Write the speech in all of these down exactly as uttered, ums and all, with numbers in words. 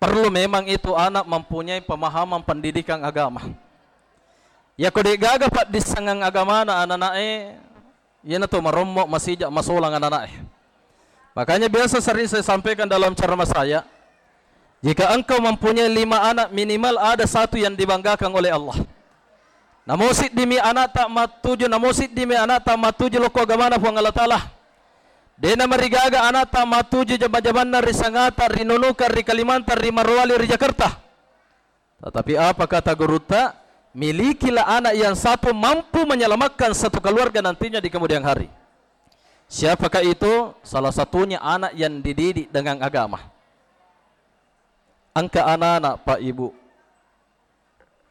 Perlu memang itu anak mempunyai pemahaman pendidikan agama. Yako de'gaga paddissengang agamana anana'e, iyanatu marommo masija masolang anana'e. Makanya biasa sering saya sampaikan dalam ceramah saya, jika engkau mempunyai lima anak, minimal ada satu yang dibanggakan oleh Allah. Namo siddimi anakta mattuju, namo siddimi anakta mattuju lokko agamana Puang Allah Ta'ala. De'na marigaga anakta mattuju jama-jamanna ri Sangata, ri Nunuka, ri Kalimantan, ri Morowali, ri Jakarta. Tetapi apa kata gurutta? Milikilah anak yang satu mampu menyelamatkan satu keluarga nantinya di kemudian hari. Siapakah itu? Salah satunya anak yang dididik dengan agama. Engka anak-anak, Pak Ibu,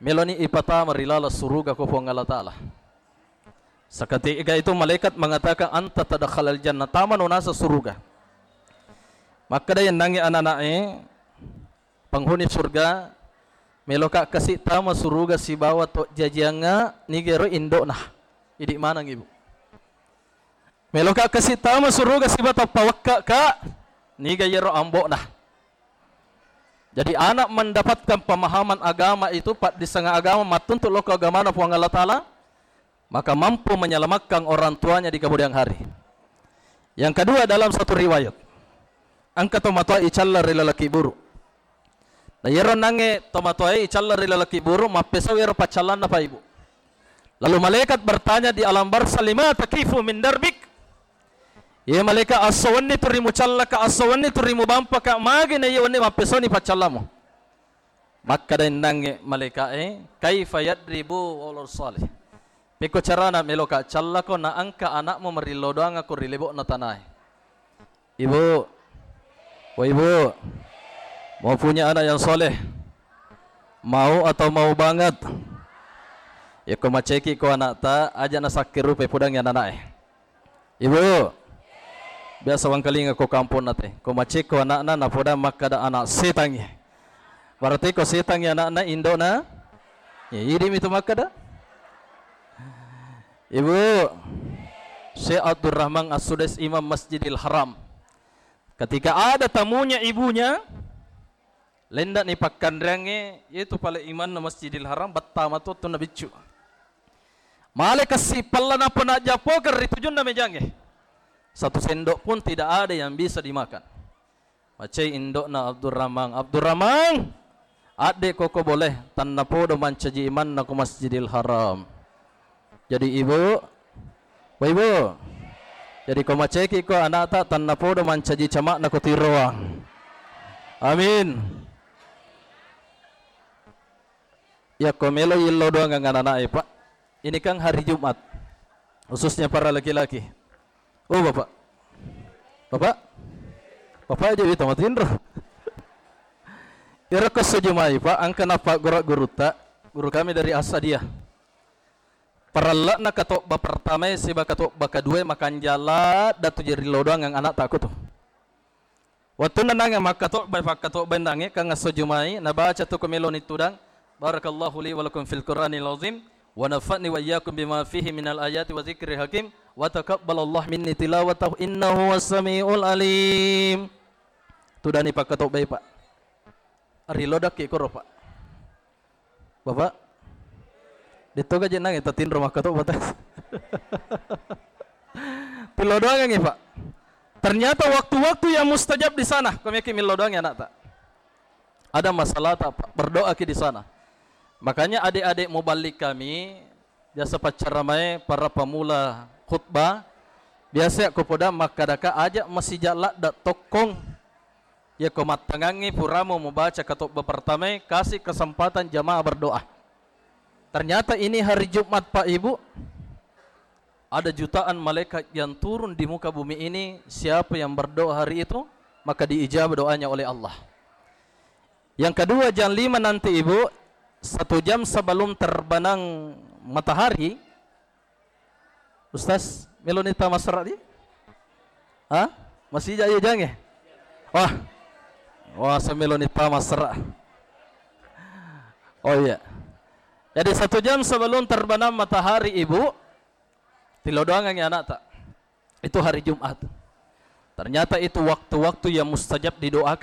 meloni ipatama ri laleng suruga ko Puang Allah Ta'ala. Seketika itu malaikat mengatakan, "Anta tadakhalal jannah, tamano naseng suruga." Makkeda yennangnge anak-anak'e, penghuni surga, meloka kasi tama suruga sibawa to jajiangnga, nigero indo'na. Idi maneng, Ibu. Meloka kasi tama suruga sibawa to pawekka'ka, niga yero ambo'na. Jadi anak mendapatkan pemahaman agama itu, paddissengeng agama, mattuntu lokko agamana Puang Allah Ta'ala, maka mampu menyelamatkan orang tuanya di kemudian hari. Yang kedua, dalam satu riwayat, engka tomatoa icalla ri laleng kiburu. Na iyaro nangnge tomatoae icalla ri laleng kiburu, mappesau ero paccallanna, Pak Ibu. Lalu malaikat bertanya di alam barzakh, "Lima taqifu min darbik?" Ye malaikat, esso wenni tu rimucallaka, esso wenni tu rimubampaka, magi na iya wenni mappesauni paccallamu? Makkeda ennangnge malaika'e, "Kaifa yadri bu waladun salih?" Pekko carana meloka callako na engka anakmu marillau doangako ri lebo'na tanae? Ibu, woi Ibu, mau punya anak yang soleh? Mau atau mau banget? Yako macekiko anakta, aja nasakkerupai pudangngi anana'e. Ibu, biasa wangkalinga ko kamponna te, ko macekko anakna napodang makkeda anak setangngi. Berarti ko setangngi anakna, indo'na? Ya, idi mitu makkeda. Ibu, Syekh Abdurrahman As-Sudais, Imam Masjidil Haram. Ketika ada tamunya ibunya, lendani pakkanreangnge, yaitu pale imanna Masjidil Haram, bettama tu wettunna biccu. Male kessi pella nappa najjappokeng ri tujunna mejangnge. Satu sendok pun tidak ada yang bisa dimakan. Macai indo'na Abdurrahman, "Abdurrahman, adde koko boleh, tannapodo mancaji imanna ko Masjidil Haram." Jadi Ibu, woi Ibu, jadi ko macekiko anakta, tannapodo mancaji cama'na ko tiroang. Amin. Yakko melo yillau doangang anana'e, Pak. Ini kan hari Jumat, khususnya para laki-laki. Oh, Bapak. Bapak? Bapak aja wita matinro. Iyaro ko esso Jumai, Pak, engka nappagguru gurutta, guru kami dari Asadiyah. Parelle'na katobba pertamae siba katobba kedua makanja ladda tu jari lodoangang anakta kutu. Wettunna nangnge makkatobbai, fakkatobbai nangnge, kang esso Jumai, nabaca tu ko meloni tudang, "Barakallahu li wa lakum fil Qur'anil azim, wa nafa'ni wa iyyakum bima fihi minal ayati wa dzikril hakim, wa taqabbalallahu minni tilawatahu innahu huwas samiul alim." Tudani pakkatobbai, Pak. Rilodakki koro, Pak. Bapak, detto gaje nangnge tatinro makkatobba tas. Tillau doangangngi, Pak. Ternyata waktu-waktu yang mustajab di sana. Ko meki millau doangngi anakta. Ada masalah tak, Pak? Berdoa ki di sana. Makanya adik-adik muballig kami, biasa paccaramae para pemula khutbah, biasa ko poda makkadaka aja masija ladda tokkong. Yako mattangangngi puramo mubaca katobba pertamae, kasih kesempatan jamaah berdoa. Ternyata ini hari Jumat, Pak Ibu, ada jutaan malaikat yang turun di muka bumi ini. Siapa yang berdoa hari itu, maka diijabah doanya oleh Allah. Yang kedua, jam lima nanti, Ibu, satu jam sebelum terbenam matahari, Ustaz, meloni tama sera di? Ha? Masija iya jangnge? Wah. Wah, sa meloni tama sera. Oh iya. Jadi satu jam sebelum terbenam matahari, Ibu, tillau doangangngi anakta. Itu hari Jumat. Ternyata itu waktu-waktu yang mustajab didoakan